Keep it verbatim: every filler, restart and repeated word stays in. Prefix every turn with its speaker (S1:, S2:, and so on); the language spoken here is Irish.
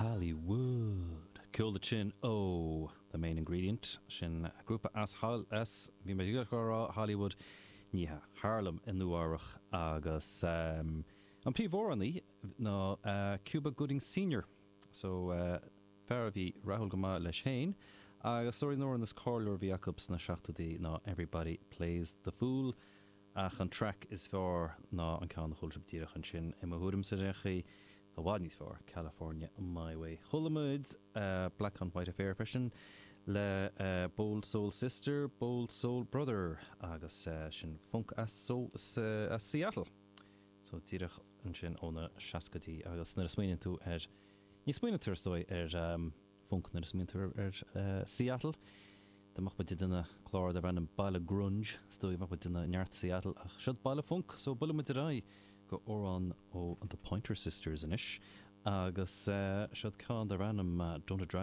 S1: Hollywood. Ceol sin ó The Main Ingredient sin grúpa as as bhí mé rá Hollywood ní Harlem i Nua-Eabhrac agus um, an príomhamhránaí ná uh, Cuba Gooding Senior so uh, fear a bhí rathúil go maith leis féin agus sóí nóir is cáiliúla a bhí acu sna seachtóidí ná Everybody Plays the Fool ach an track is fearr ná an ceann a chuala sibh díreach ansin i mo thuairim sa réchaí Tá bhfad níos fearr California My Way. Chuala muid uh, Black on White Affair freisin le uh, Bold Soul Sister, Bold Soul Brother agus uh, sin funk as, so, uh, as Seattle. So díreach ansin ó na seascaidí agus nuair a smaoiníonn tú ar ní smaoiníonn tú stoi ar um, funk nuair a smaoiníonn tú ar uh, Seattle. Dá mbeadh muid ag déanamh clár darb ainm Baile Grunge stoi bheadh muid ag déanamh neart Seattle ach siod baile funk so buailfidh muid ar aghaidh go amhrán ó the Pointer Sisters anois agus uh, siod ceann darb ainm uh, Don't It Drive